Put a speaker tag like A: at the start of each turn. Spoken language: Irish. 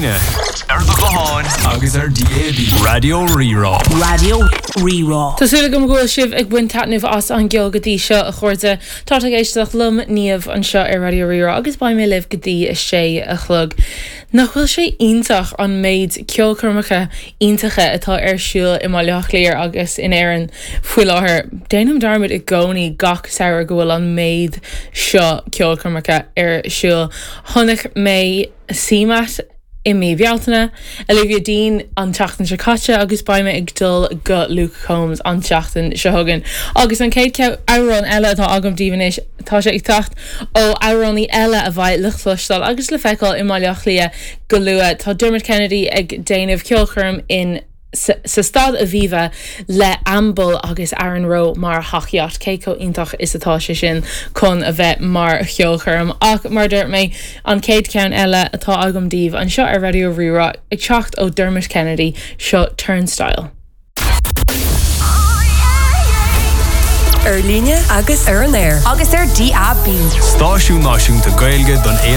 A: líne, ar do ghuthán agus ar DAB. Raidió Rí-Rá.
B: Raidió Rí-Rá.
C: Tá súil agam go bhfuil sibh ag baint taitneamh as an gceol go dtí seo, a chairde. Tá tú ag éisteacht liom, Niamh, anseo ar Raidió Rí-Rá agus beidh mé libh go dtí a sé a chlog. Nach bhfuil sé iontach an méid ceolchoirmeacha iontacha atá ar siúl i mBaile Átha Cliath agus in Éirinn faoi láthair? Déanaim dearmad i gcónaí gach samhradh go bhfuil an méid seo ceolchoirmeacha ar siúl. Chonaic mé CMAT i mí Bealtaine, Olivia Dean an tseachtain seo caite agus beidh mé ag dul go Luke Combs an tseachtain seo chugainn. Agus an chéad amhrán eile atá agam daoibh anois, tá sé ag teacht ó amhránaí eile a bheidh le cloisteáil agus le feiceáil i mBaile Átha Cliath go luath. Tá Dermot Kennedy ag déanamh ceolchoirm in. sa Staid Aviva le Ambel agus Aaron Rowe mar thacaíocht. Cé chomh iontach is atá sé sin chun a bheith mar cheolchoirm? Ach mar a dúirt mé, an chéad cheann eile atá agam daoibh anseo ar Raidió Rí-Rá, ag teacht ó Dermot Kennedy, seo Turnstile.
D: Ar líne agus ar an aer.
B: Agus ar DAB.
A: Stáisiún náisiúnta Gaeilge don.